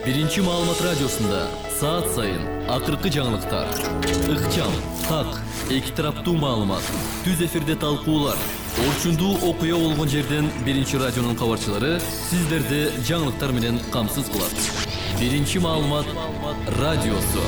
Биринчи маалымат радиосунда саат сайын акыркы жаңылыктар, ыкчам, так, эки тараптуу маалымат, түз эфирде талкуулар, орчундуу окуя болгон жерден Биринчи радионун кабарчылары сиздерди жаңылыктар менен камсыз кылат. Биринчи маалымат радиосу.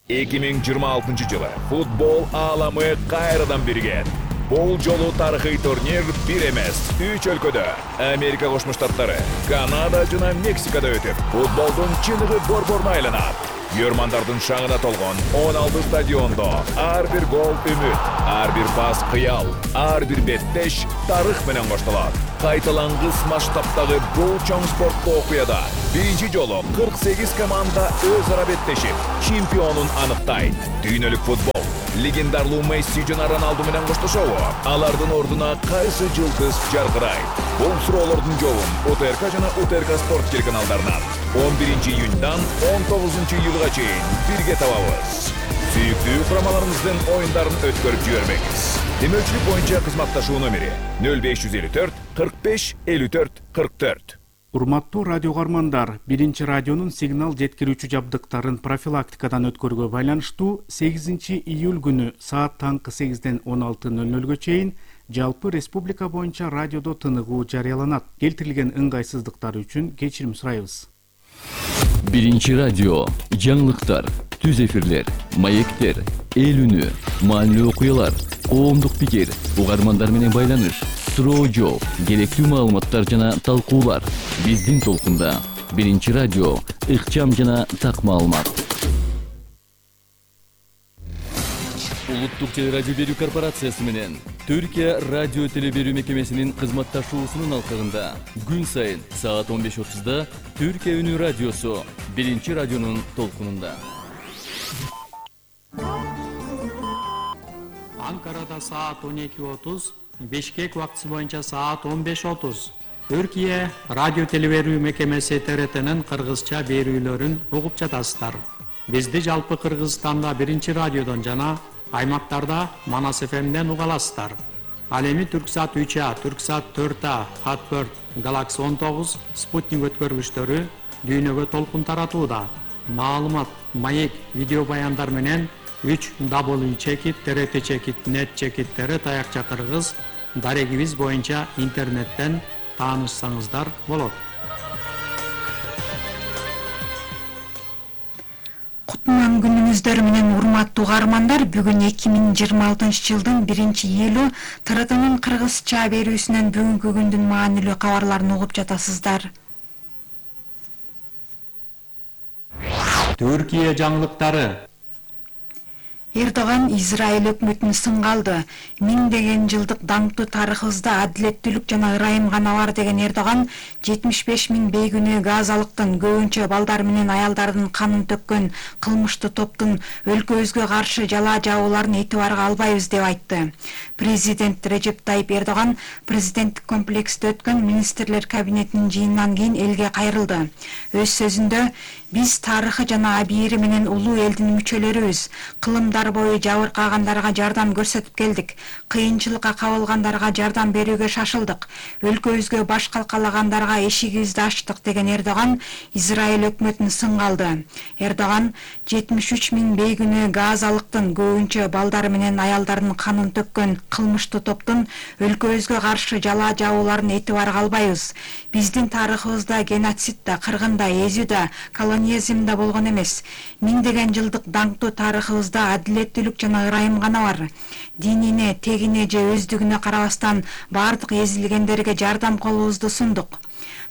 2026 жылы футбол ааламы кайрадан бирген. Бул жолу тарыхый турнир бир эмес, 3 өлкөдө Америка Кошмо Штаттары, Канада жана Мексикада өтүп, футболдун чыныгы борборуна айланат. Көрмандардын шаңына толгон 16 стадиондо ар бир гол үмүт, ар бир пас кыял, ар бир беттеш тарых менен коштолот. Кайталангыс масштабтагы бул чоң спорттуу окуяда биринчи жолу 48 команда өз ара беттешип, чемпионун аныктайт. Дүйнөлүк футбол легендарлуу Месси жана Роналду менен коштошобу? Алардын ордуна кайсы жылдыз жаркырайт? Бул суроолордун жообун УТРК жана УТРК спорт телеканалдарынан 11 июньдан 19 июлга чейин бирге табабыз. Сүйүктүү курамаларыңыздын оюндарын өткөрүп жибербеңиз. Демөчүлүк боюнча кызматташуу номери 0554 45 54 44. Урматтуу радио кармандар, Биринчи радионун сигнал жеткирүүчү жабдыктарын профилактикадан өткөрүүгө байланыштуу 8 июль күнү саат таңкы 8ден 16:00 чейин жалпы республика боюнча радиодо тыныгуу жарыяланат. Келтирилген ыңгайсыздыктар үчүн кечирим сурайбыз. Биринчи радио, жаңылыктар, түз эфирлер, маектер, эл үнү, маанилүү окуялар, коомдук пикир, угармандар менен байланыш, суроо жооп, керектүү маалыматтар жана талкуулар. Биздин толкунда Биринчи радио, ыкчам жана так маалымат. Улуттук телерадио берүү корпорациясы менен Түркия радио телеберүү мекемесинин кызматташуусунун алкагында күн сайын саат 15:30 Түркия үнү радиосу Биринчи радионун толкунунда. Анкарада саат 12:30, Бишкек убактысы боюнча саат 15:30. Түркия радио телеберүү мекемеси ТРТнын кыргызча берүүлөрүн угуп жатасыздар. Бизди жалпы Кыргызстанда Биринчи радиодон жана аймактарда Манас ФМден уга аласыздар. Ал эми Түрксат 3А, Түрксат 4А, Хатберт, Галакси 19, Спутник өткөргүчтөрү дүйнөгө толкун таратууда. Маалымат, маек, видео баяндар менен 3w.trt.net таякча кыргыз дарегибиз боюнча интернеттен таанышсаңыздар болот. Кутман күнүңүздөр менен урматтуу угармандар, бүгүн 2026 жылдын 1-июлу ТРТнын кыргызча берүүсүнөн бүгүнкү күндүн маанилүү кабарларын угуп жатасыздар. Түркия жаңылыктары. Эрдоган Израиль өкмөтүн сынга алды. Миңдеген жылдык даңктуу тарыхыбызда адилеттүүлүк жана ырайым гана бар деген Эрдоган 75 000 бейгүнөө газалыктын, көбүнчө балдар менен аялдардын канын төккөн кылмыштуу топтун өлкөбүзгө каршы жалаа жабууларын этибарга албайбыз деп айтты. Президент Режеп Тайип Эрдоган президенттик комплексте өткөн министрлер кабинетинин жыйынынан кийин элге кайрылды. Өз сөзүндө биз тарыхы жана абийири менен улуу элдин мүчөлөрүбүз. Кылымдар бою жабыркагандарга жардам көрсөтүп келдик. Кыйынчылыкка кабылгандарга жардам берүүгө шашылдык. Өлкөбүзгө баш калкалагандарга эшигибизди ачтык деген Эрдоган Израиль өкмөтүн сынга алды. Эрдоган 73 000 бейгүнөө газалыктын, көбүнчө балдар менен аялдардын канын төккөн кылмыштуу топтун өлкөбүзгө каршы жалаа жабууларын этибарга албайбыз. Биздин тарыхыбызда геноцид да, кыргын да, эзүү да, колониализм да болгон эмес. Миңдеген жылдык даңктуу тарыхыбызда адилеттүүлүк жана ырайым гана бар. Динине, тегине же өздүгүнө карабастан бардык эзилгендерге жардам колубузду сундук.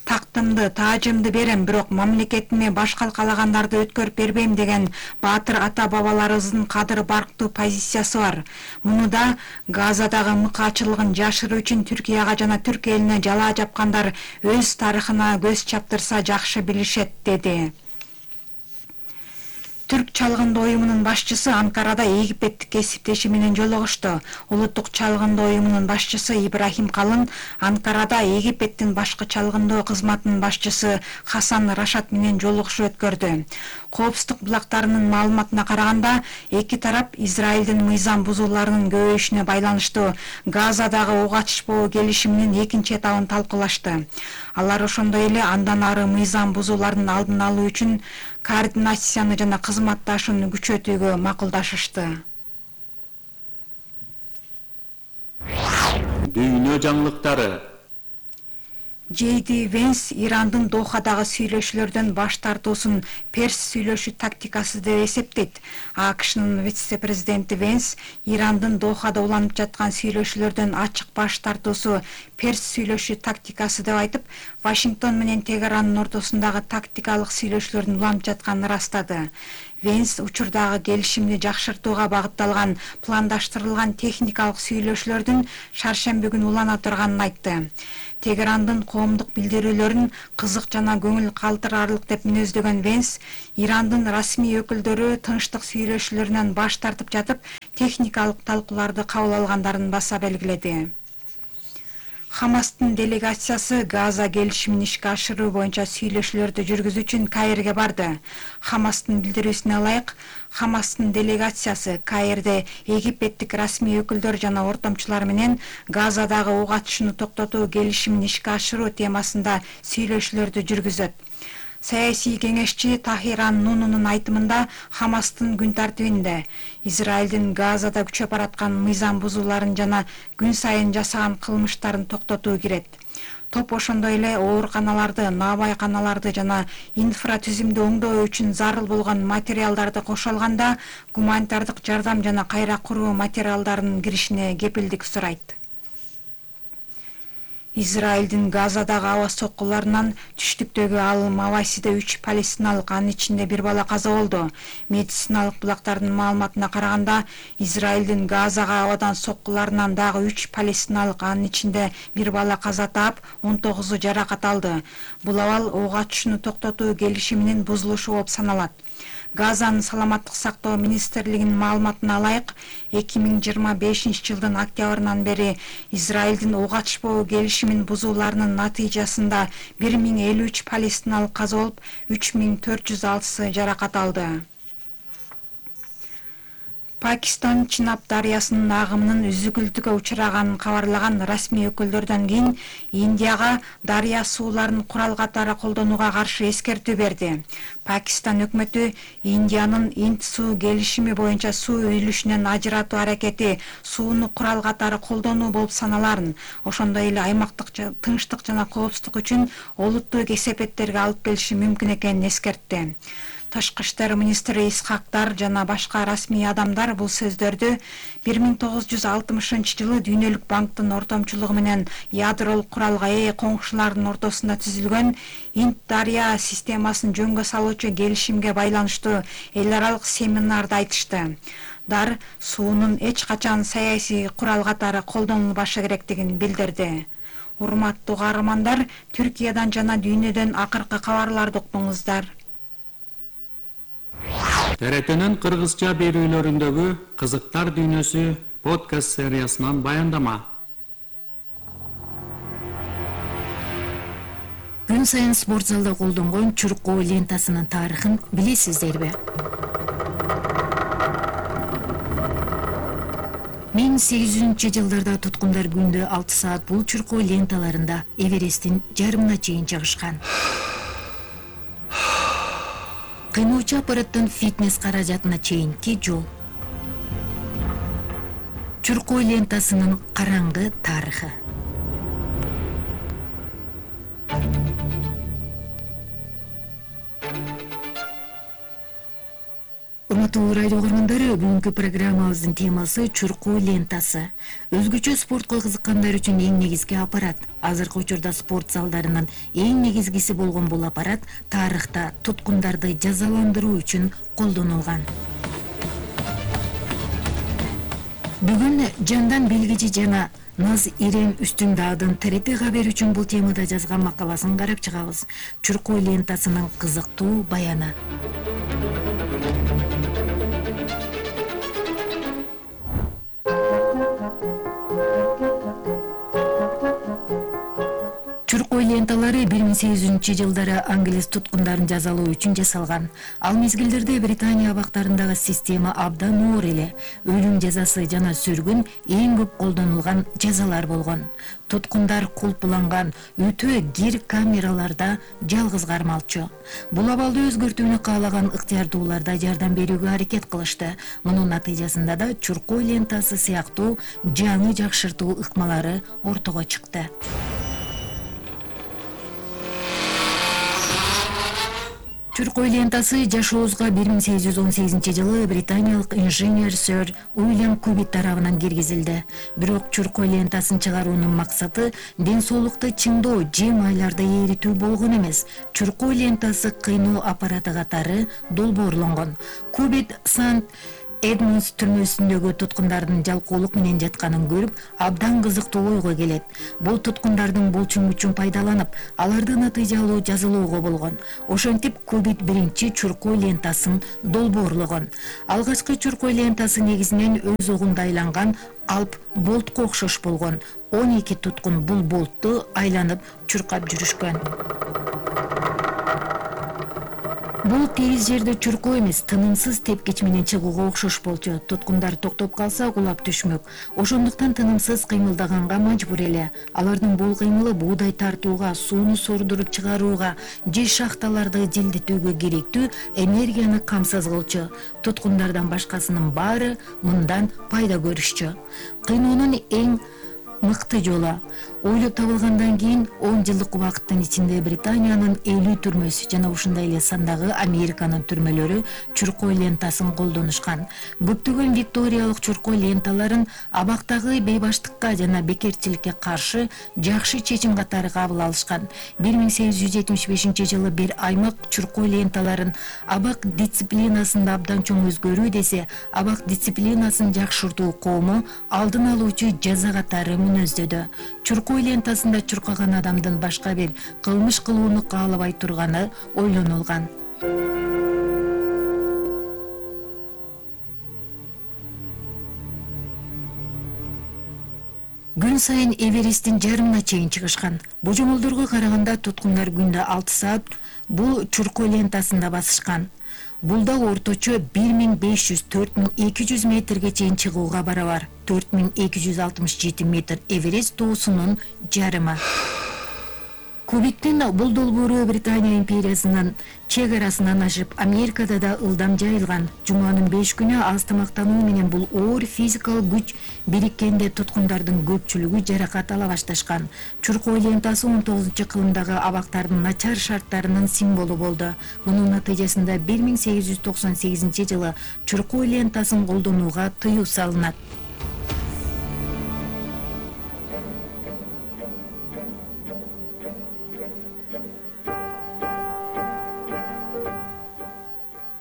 Тактымды, таажымды берем, бирок мамлекетиме баш калкалагандарды өткөрүп бербейм деген баатыр ата бабаларыбыздын кадыр барктуу позициясы бар. Муну да Газадагы мыкаачылыгын жашыруу үчүн Түркияга жана түрк элине жалаа жапкандар өз тарыхына көз чаптырса жакшы билишет, деди. Түрк чалгынды уюмунун башчысы Анкарада Египеттик кесиптеши менен жолугушту. Улуттук чалгынды уюмунун башчысы Ибрахим Калын Анкарада Египеттин башкы чалгындоо кызматынын башчысы Хасан Рашат менен жолугушуу өткөрдү. Коопсуздук булактарынын маалыматына караганда, эки тарап Израилдин мыйзам бузууларынын көбөйүшүнө байланыштуу Газадагы ок ачышпоо келишиминин экинчи этабын талкуулашты. Алар ошондой эле андан ары мыйзам бузуулардын алдын алуу үчүн координацияны жана кызматташууну күчөтүүгө макулдашышты. Дүйнө жаңылыктары. Джейди Венс Ирандын Дохадагы сүйлөшүүлөрдөн баш тартуусун перс сүйлөшүү тактикасы деп эсептейт. АКШнын вице-президенти Венс Ирандын Дохада уланып жаткан сүйлөшүүлөрдөн ачык баш тартуусу перс сүйлөшүү тактикасы деп айтып, Вашингтон менен Тегерандын ортосундагы тактикалык сүйлөшүүлөрдүн уланып жатканын ырастады. Венс учурдагы келишимди жакшыртууга багытталган пландаштырылган техникалык сүйлөшүүлөрдүн шаршемби күнү улана турганын айтты. Тегерандын коомдук билдирүүлөрүн кызык жана көңүл калтырарлык деп мүнөздөгөн Венс, Ирандын расмий өкүлдөрү тынчтык сүйлөшүүлөрүнөн баш тартып жатып, техникалык талкууларды кабыл алгандарын баса белгиледи. Хамастын делегациясы Газа келишимин ишке ашыруу боюнча сүйлөшүүлөрдү жүргүзүү үчүн Каирге барды. Хамастын билдирүүсүнө ылайык, Хамастын делегациясы Каирде египеттик расмий өкүлдөр жана ортомчулар менен Газадагы ок атышууну токтотуу келишимин ишке ашыруу темасында сүйлөшүүлөрдү жүргүзөт. Саясий кеңешчи Тахиран Нунунун айтымында Хамастын күн тартибинде Израилдин Газада күчөп бараткан мыйзам бузууларын жана күн сайын жасаган кылмыштарын токтотуу кирет. Топ ошондой эле ооруканаларды, наабайканаларды жана инфратүзүмдү оңдоо үчүн зарыл болгон материалдарды кошо алганда гуманитардык жардам жана кайра куруу материалдарынын киришине кепилдик сурайт. Израилдин Газадагы аба соккуларынан түштүктөгү ал Мавасиде 3 палестиналык, анын ичинде 1 бала каза болду. Медициналык булактардын маалыматына караганда, Израилдин Газага абадан соккуларынан дагы 3 палестиналык, анын ичинде 1 бала каза таап, 19-у жаракат алды. Бул абал ок атышууну токтотуу келишиминин бузулушу болуп саналат. Газанын саламаттык сактоо министрлигинин маалыматына ылайык, 2025-жылдын октябрынан бери Израилдин ок атышпоо келишимин бузууларынын натыйжасында 1053 палестиналык каза болуп, 3406 жаракат алды. Пакистан Чинаб дарыясынын агымынын үзүкүлтүккө учураганын кабарлаган расмий өкүлдөрдөн кийин Индияга дарыя сууларын курал катары колдонууга каршы эскертүү берди. Пакистан өкмөтү Индиянын Инд суу келишими боюнча суу үлүшүнөн ажыратуу аракети сууну курал катары колдонуу болуп саналарын, ошондой эле аймактык тынчтык жана коопсуздук үчүн олуттуу кесепеттерге алып келиши мүмкүн экенин эскертти. Тышкы иштер министри Исхактар жана башка расмий адамдар бул сөздөрдү 1960-жылы Дүйнөлүк банктын ортомчулугу менен ядролук куралга ээ коңшулардын ортосунда түзүлгөн Инд дарыя системасын жөнгө салуучу келишимге байланыштуу эл аралык семинарда айтышты. Дар суунун эч качан саясий курал катары колдонулбашы керектигин билдирди. Урматтуу каармандар, Түркиядан жана дүйнөдөн акыркы кабарларды уктуңуздар. ТРТнын кыргызча берүүлөрүндөгү кызыктар дүйнөсү подкаст сериясынан баяндама. Күн сайын спорт залда колдонгон чуркоо лентасынын тарыхын билесиздерби? 1800-жылдарда туткундар күндө 6 саат бул чуркоо ленталарында Эвересттин жарымына чейин чыгышкан. Кыйноочу аппараттын фитнес каражатына чейинки жол. Чуркоо лентасынын караңгы тарыхы. Урматтуу радио көргөндөрү, бүгүнкү программабыздын темасы чуркоо лентасы. Өзгөчө спортко кызыккандар үчүн эң негизги аппарат. Азыркы учурда спорт залдарынын эң негизгиси болгон бул аппарат тарыхта туткундарды жазаландыруу үчүн колдонулган. Бүгүн Жандан Белгичи жана Наз Ирем Үстүндаадын ТРТ кабер үчүн бул темада жазган макаласын карап чыгабыз. Чуркоо лентасынын кызыктуу баяны. ленталары 1800-жылдары англис туткундарын жазалоо үчүн жасалган. Ал мезгилдерде Британия абактарындагы система абдан оор эле. Өлүм жазасы жана сүргүн эң көп колдонулган жазалар болгон. Туткундар кулпуланган өтө гир камераларда жалгыз кармалчу. Бул абалды өзгөртүүнү каалаган ыктыярдуулар да жардам берүүгө аракет кылышты. Мунун натыйжасында да чуркоо лентасы сыяктуу жаңы жакшыртуу ыкмалары ортого чыкты. Чуркоо лентасы жашообузга 1818-жылы британиялык инженер сэр Уильям Кубит тарабынан киргизилди. Бирок чуркоо лентасын чыгаруунун максаты ден соолукту чыңдоо же майларды эритүү болгон эмес. Чуркоо лентасы кыйноо аппараты катары долбоорлонгон. Кубит Сант Эдмундс түрмөсүндөгү туткундардын жалкоолук менен жатканын көрүп, абдан кызыктуу ойго келет. Бул туткундардын булчуң күчүн пайдаланып, аларды натыйжалуу жазалоого болгон. Ошентип Кубит биринчи чуркоо лентасын долбоорлогон. Алгачкы чуркоо лентасы негизинен өз огунда айланган алп болтко окшош болгон. 12 туткун бул болтту айланып чуркап жүрүшкөн. Бул тегиз жерде чуркоо эмес, тынымсыз тепкич менен чыгууга окшош болчу. Туткундар токтоп калса кулап түшмөк. Ошондуктан тынымсыз кыймылдаганга мажбур эле. Алардын бул кыймылы буудай тартууга, сууну сордуруп чыгарууга же шахталарды желдетүүгө керектүү энергияны камсыз кылчу. Туткундардан башкасынын баары мындан пайда көрүшчү. Кыйноонун эң мыкты жолу ойлоп табылгандан кийин 10 жылдык убакыттын ичинде Британиянын 50 түрмөсү жана ушундай эле сандагы Американын түрмөлөрү чуркоо лентасын колдонушкан. Көптөгөн викториялык чуркоо ленталарын абактагы бейбаштыкка жана бекерчиликке каршы жакшы чечим катары кабыл алышкан. 1875-жылы бир аймак чуркоо ленталарын абак дисциплинасында абдан чоң өзгөрүү десе, абак дисциплинасын жакшыртуу коому алдын алуучу жаза катары мүнөздөдү. Чуркоо лентасында чуркаган адамдын башка бир кылмыш кылууну каалабай турганы ойлонулган. Күн сайын Эвересттин жарымына чейин чыгышкан. Божомолдорго караганда туткундар күндө 6 саат бул чуркоо лентасында басышкан. Бул да орточо 1500-4200 метрге чейин чыгууга барабар. 4267 метр Эверест тоосунун жарымы. Кубиттин бул долбоору Британия империясынын чек арасынан ашып, Америкада да ылдам жайылган. Жуманын 5 күнү аз тамактануу менен бул оор физикалык күч бириккенде туткундардын көпчүлүгү жаракат ала башташкан. Чуркоо лентасы 19-кылымдагы абактардын начар шарттарынын символу болду. Мунун натыйжасында 1898-жылы чуркоо лентасын колдонууга тыюу салынат.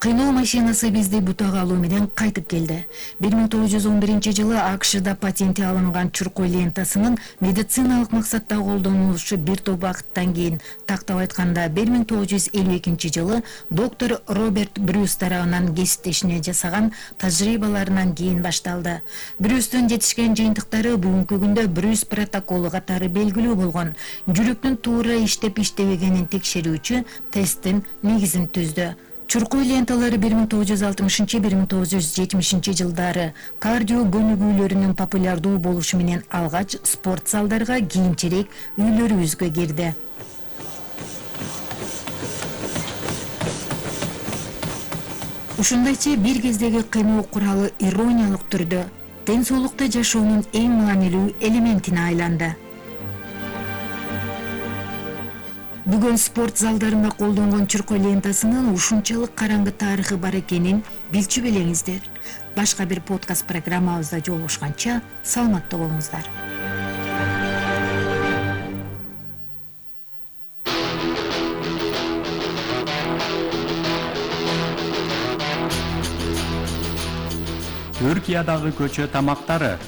Кыйноо машинасы бизди бутага алуу менен кайтып келди. 1911-жылы АКШда патенти алынган чуркоо лентасынын медициналык максатта колдонулушу бир топ убакыттан кийин, тактап айтканда 1952-жылы доктор Роберт Брюс тарабынан кесиптешине жасаган тажрыйбаларынан кийин башталды. Брюстун жетишкен жыйынтыктары бүгүнкү күндө Брюс протоколу катары белгилүү болгон. Жүрөктүн туура иштеп-иштебегенин текшерүүчү тесттин негизин түздү. Чуркоо ленталары 1960-1970 жылдары кардио көнүгүүлөрүнүн популярдуу болушу менен алгач спорт залдарга, кийинчерээк үйлөрүбүзгө кирди. Ушундайча бир кездеги кыйноо куралы ирониялык түрдө ден соолукта жашоонун эң маанилүү элементине айланды. Бүгүн спорт залдарында колдонгон чуркоо лентасынын ушунчалык караңгы тарыхы бар экенин билчү белеңиздер. Башка бир подкаст программабызда жолугушканча саламатта болуңуздар. Түркиядагы көчө тамактары